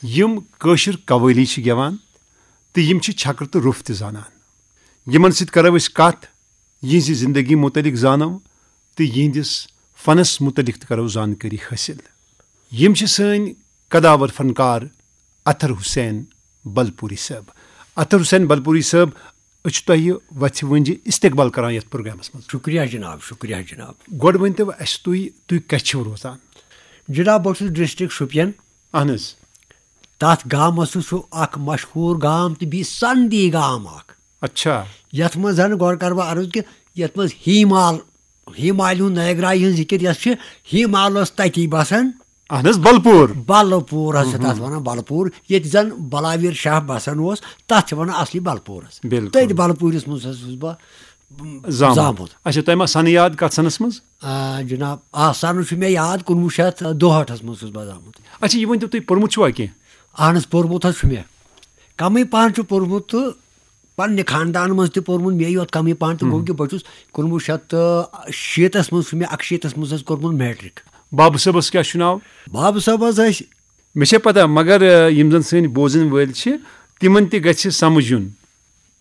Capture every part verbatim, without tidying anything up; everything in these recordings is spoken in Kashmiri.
یِم کٲشِر قوٲلی چھِ گٮ۪وان تہٕ یِم چھِ چھکرٕ تہٕ روٚف تہِ زانان۔ یِمن سۭتۍ کرو أسۍ کتھ، یِہنٛزِ زندگی متعلق زانو تہٕ یِہنٛدِس فنس متعلق تہِ کرو زانکٲری حٲصِل۔ یِم چھِ سٲنۍ قداور فنکار اطہر حسین بلپوری صٲب۔ اطہر حسین بلپوری صٲب، أسۍ چھِ تۄہہِ وَژھِ وٲنٛجہِ استقبال کران یَتھ پروگرامَس منٛز۔ شُکریہ جناب، شُکریہ جناب۔ گۄڈٕ ؤنۍ تو اَسہِ تُہۍ، تُہۍ کَتہِ چھِو روزان؟ جناب، بہٕ چھُس ڈسٹرکٹ شُپین۔ اہن حظ۔ تَتھ گامَس چھُ، چھُ اکھ مشہوٗر گام تہٕ بیٚیہِ سندی گام اکھ۔ اچھا۔ یَتھ منٛز زَن گۄڈٕ کَرٕ بہٕ عرض کہِ یَتھ منٛز ہیٖمال، ہیٖمالہِ ہُنٛد نٲگراے ہٕنٛز ذِکِر یۄس چھِ، ہیٖمال اوس تَتی بَسان۔ اہن حظ، بلپور۔ بلپور حظ چھِ تَتھ وَنان، بلپور۔ ییٚتہِ زَن بلاویر شاہ بَسان اوس، تَتھ چھِ وَنان اصلی بلپورَس۔ بِلکُل۔ تٔتھۍ بلپوٗرِس منٛز حظ چھُس بہٕ زامُت۔ زامُت۔ اچھا، تۄہہِ ما سَنہٕ یاد کَتھ سَنَس منٛز؟ آ، جناب، آ، سَنہٕ چھُ مےٚ یاد، کُنوُہ شیٚتھ دُہٲٹھَس منٛز چھُس بہٕ زامُت۔ اچھا، یہِ ؤنۍ تو تُہۍ، پوٚرمُت چھُوا کینٛہہ؟ اہن حظ، پوٚرمُت حظ چھُ مےٚ۔ کَمٕے پَہَن چھُ پوٚرمُت تہٕ پننہِ خاندان منٛز تہِ پوٚرمُت، مے یوت کمٕے پہن تہٕ گوٚو کہِ بہٕ چھُس کُنوُہ شیٚتھ تہٕ شیٖتس منٛز چھُ مےٚ، اَکشیٖتس منٛز حظ کوٚرمُت میٹرک۔ بابہٕ صٲبس کیٛاہ چھُ ناو؟ بابہٕ صٲب حظ ٲسۍ۔ مےٚ چھےٚ پتہ، مگر، آ، یِم زن سٲنۍ بوزن وٲلۍ چھِ، تِمن تہِ گژھِ سمجھُن۔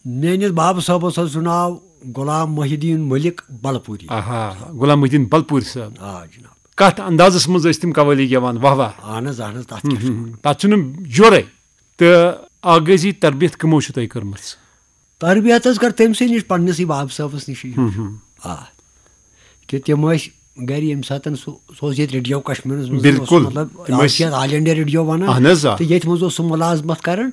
میٲنِس بابہٕ صٲبس حظ چھُ ناو غلام محی الدین ملک بلپوری۔ آہا، غلام محی الدین بلپوری صٲب۔ آ جناب۔ کتھ اندازس منٛز ٲسۍ تِم قوالی گٮ۪وان، واہ واہ۔ اہن حظ، اہن حظ، تتھ کیٛاہ چھُ وَنان؟ تتھ چھُنہٕ جورے۔ تہٕ آغٲزی تربیت کٕمو چھِ تۄہہِ کٔرمٕژ؟ تربیت حظ کٔر تٔمۍ سٕے نِش، پننِسٕے بابہٕ صٲبَس نِشٕے۔ ہُم، ہُم۔ آ۔ کہِ تِم ٲسۍ گرِ ییٚمہِ ساتَن سُہ، سُہ اوس ییٚتہِ ریڈیو کشمیٖرَس منٛز، اوس بِلکُل۔ مطلب، تِم آز ٲسۍ چھِ یَتھ آل انڈیا ریڈیو وَنان۔ اہن حظ، آ۔ تہٕ ییٚتہِ منٛز اوس سُہ مُلازمت کران۔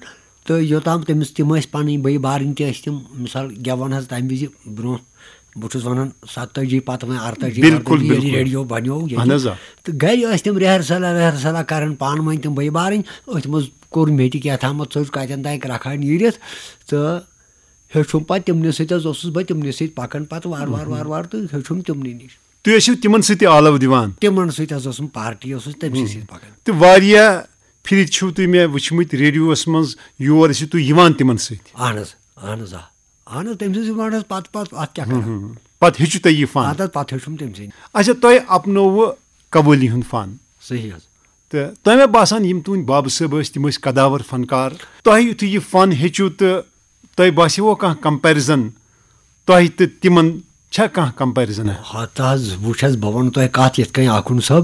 تہٕ یوٚتام تٔمِس، تِم ٲسۍ پَنٕنۍ بٲے بارٕنۍ تہِ ٲسۍ تِم، مِثال، گٮ۪وان حظ تَمہِ وِزِ برونٛہہ، بہٕ چھُس وَنان ستٲجی پَتہٕ وۄنۍ اَرتٲجی، بِلکُل، اَرتٲجی، ییٚلہِ بِلکُل۔ ریڈیو بَنیو ییٚتہِ۔ اہن حظ، آ۔ تہٕ گرِ ٲسۍ تِم ریہرسلا ویہرسلا کران پانہٕ ؤنۍ تِم بٲے بارٕنۍ، أتھۍ منٛز کوٚر مےٚ تہِ کیٛاہ تامَتھ، ژوٚج کَتٮ۪ن تام کرٛکھا نیٖرِتھ تہٕ ہیوٚچھُم پَتہٕ تِمنٕے سۭتۍ حظ اوسُس بہٕ، تِمنٕے سۭتۍ پَکان پَتہٕ وارٕ وارٕ، وارٕ وارٕ تہٕ ہیوٚچھُم تِمنٕے نِش۔ تُہۍ ٲسِو تِمن سۭتۍ تہِ آلو دِوان؟ تِمن سۭتۍ حظ اوسُم، پارٹی اوسُس تٔمۍ سٕے سۭتۍ پَکان۔ تہٕ واریاہ پھِرِ چھِو تُہۍ مےٚ وٕچھمٕتۍ ریڈیوَس منٛز، یور ٲسِو تُہۍ یِوان تِمن سۭتۍ؟ اہن حظ، اہن حظ، آ۔ اہن حظ، تٔمۍ سٕنٛز یِوان حظ پَتہٕ، پَتہٕ اَتھ کیٛاہ کَران؟ ہُم۔ پَتہٕ ہیٚچھِو تۄہہِ یہِ فن؟ اَتھ حظ پَتہٕ ہیوٚچھُم تٔمۍ سٕے۔ اچھا، تۄہہِ اپنووٕ قوٲلی ہُنٛد فن؟ صحیح حظ۔ تہٕ تۄہہِ مےٚ باسان، یِم تُہٕنٛدۍ بابہٕ صٲب ٲسۍ، تِم ٲسۍ قداور فنکار۔ تۄہہِ یُتھُے یہِ فن ہیٚچھِو تہٕ تۄہہِ باسیوٕ کانٛہہ کمپیرزن تۄہہِ تہٕ تِمن؟ چھا کانٛہہ کمپیرزن؟ ہتہٕ حظ، وٕچھ حظ، بہٕ وَنہٕ تۄہہِ کَتھ یِتھ کٔنۍ آخُن صٲب،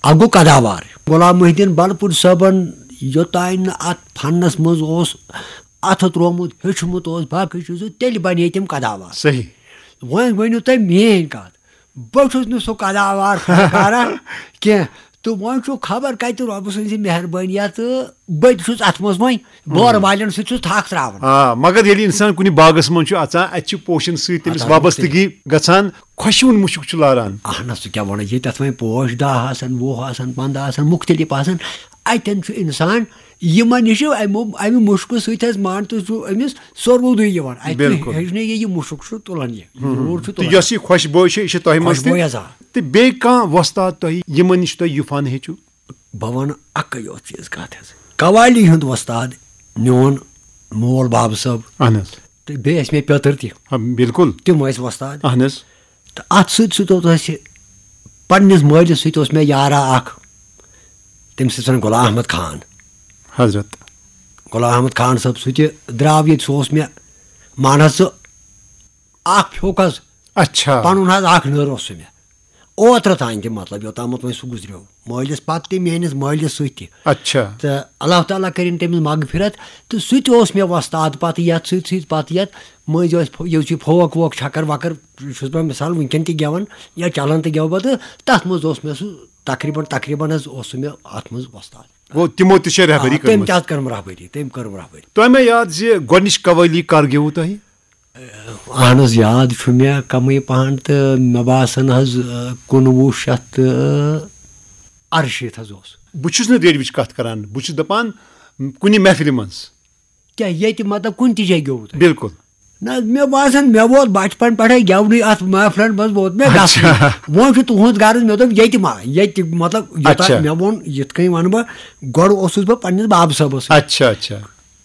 اَکھ گوٚو قداوار۔ غلام محی الدین بلپوٗرۍ صٲبن یوٚتانۍ نہٕ اَتھ فنس منٛز اوس اَتھٕ ترٛوومُت، ہیوٚچھمُت اوس باقٕے چیٖزو، تیٚلہِ بنے تِم قداوار۔ صحیح۔ وۄنۍ ؤنِو تُہۍ میٛٲنۍ کَتھ، بہٕ چھُس نہٕ سُہ قداوار فنکارا کینٛہہ۔ تہٕ وۄنۍ چھُ خبر کَتہِ رۄبہٕ سٕنٛزِ مہربٲنی تہٕ بہٕ تہِ چھُس اَتھ منٛز وۄنۍ بورٕ والٮ۪ن سۭتۍ چھُس تھَکھ ترٛاوان۔ آ، مگر ییٚلہِ اِنسان کُنہِ باغس منٛز چھُ اَژان، اَتہِ چھِ پوشن سۭتۍ تٔمِس اَتھ اَتھ وابستگی گژھان، خۄشوُن مُشُک چھُ لاران۔ اہن حظ، ژٕ کیٛاہ وَنان، ییٚتہِ تَتھ وۄنۍ پوش دَہ آسَن، وُہ آسَن، پنٛداہ آسَن، مُختلف آسَن، اَتٮ۪ن چھُ اِنسان یِمَن نِش چھُ اَمہِ، اَمہِ مُشکہٕ سۭتۍ حظ، مان تہٕ چھُ أمِس سورمُدُے یِوان۔ اَتہِ چھُ بِلکُل۔ ہیٚچھنہٕ یہِ، یہِ مُشُک چھُ تُلان یہِ، یہِ ہُم۔ روٗر چھُ تہٕ تُلان۔ یۄس یہِ خۄشبوے چھِ، یہِ چھِ تۄہہِ منٛز تہِ۔ خۄشبوے حظ، آ۔ تہٕ بیٚیہِ کانٛہہ وۄستاد تۄہہِ، یِمَن نِش تۄہہِ یہِ فن ہیٚچھِو؟ بہٕ وَنہٕ اَکٕے یوت چیٖز کَتھ حظ۔ قوالی ہُنٛد وۄستاد میون مول بابہٕ صٲب۔ اہن حظ۔ تہٕ بیٚیہِ ٲسۍ مےٚ پیٚتٕر تہِ۔ آ، بِلکُل۔ تِم ٲسۍ وۄستاد۔ اہن حظ۔ تہٕ اَتھ سۭتۍ سۭتۍ اوس اَسہِ پنٛنِس مٲلِس سۭتۍ اوس مےٚ یارا اَکھ، تٔمِس ٲسۍ وَنان غلام احمد خان۔ حضرت۔ غلام احمد خان صٲب، سُہ تہِ درٛاو ییٚتہِ، سُہ اوس مےٚ، مان حظ ژٕ، اَکھ پھیوٚک حظ۔ اچھا۔ پَنُن حظ اَکھ نٔر اوس سُہ مےٚ۔ اوترٕ تام تہِ، مطلب، یوٚتامَتھ وۄنۍ سُہ گُزریو۔ مٲلِس پَتہٕ تہِ، میٛٲنِس مٲلِس سۭتۍ تہِ۔ اچھا۔ تہٕ اللہ تعالیٰ کٔرِن تٔمِس مغفرت۔ تہٕ سُہ تہِ اوس مےٚ وۄستاد پَتہٕ یَتھ سۭتۍ سۭتۍ، پَتہٕ یَتھ مٔنٛزۍ ٲسۍ فو-، یہِ چھُ فوک ووک چھَکَر وَکَر، چھُس بہٕ مِثال وٕنکٮ۪ن تہِ گٮ۪وان یا چَلان تہِ گٮ۪وٕ بہٕ، تہٕ تَتھ منٛز اوس مےٚ سُہ تقریٖباً، تقریٖباً حظ اوس سُہ مےٚ اَتھ منٛز وۄستاد۔ گوٚو، تِمو تہِ چھےٚ رہبری آ، تٔمۍ کٔرمٕژ۔ تہِ حظ کٔرٕم رہبری، تٔمۍ کٔرٕم رہبری۔ تۄہہِ مےٚ یاد زِ گۄڈٕنِچ قوٲلی کر گیوٕ تۄہہِ؟ اہن حظ، یاد چھُ مےٚ کمٕے پہن تہٕ مےٚ باسان حظ، آ، کُنوُہ شیٚتھ تہٕ اَرشیٖتھ حظ اوس۔ بہٕ چھُس نہٕ ریڈیوٕچ کتھ کران، بہٕ چھُس دپان کُنہِ محفلہِ منٛز۔ کیٛاہ ییٚتہِ مطلب کُنہِ تہِ جایہِ گیوٚوُ تۄہہِ؟ بِلکُل۔ نہ حظ، مےٚ باسان مےٚ ووت بچپن پٮ۪ٹھے گٮ۪ونٕے، اتھ محفلن منٛز ووت مےٚ گژھُن۔ اچھا۔ وۄنۍ چھُ تُہُنٛد غرض، مےٚ دوٚپ ییٚتہِ ما، ییٚتہِ مطلب یوٗتاہ اچھا۔ مےٚ ووٚن، یِتھ کٔنۍ ونہٕ بہٕ، گۄڈٕ اوسُس بہٕ پننِس بابہٕ صٲبس سۭتۍ۔ اچھا، اچھا۔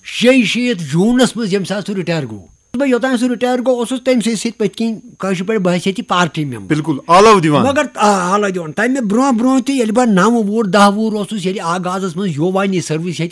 شیٚیہِ شیٖتھ جوٗنس منٛز ییٚمہِ ساتہٕ سُہ رِٹایَر گوٚو، بہٕ یوٚتام سُہ رِٹایَر گوٚو، اوسُس تٔمۍ سٕے سۭتۍ پٔتۍ کِنۍ کٲشِر پٲٹھۍ بہٕ حیثیت پارٹی مٮ۪مبر۔ بِلکُل، آلو دِوان۔ مگر آ، آلو دِوان۔ تَمہِ برونٛہہ برونٛہہ تہِ ییٚلہِ بہٕ نَو وُہُر، دَہ وُہُر اوسُس، ییٚلہِ آغازَس منٛز یووانی سٔروِس ییٚتہِ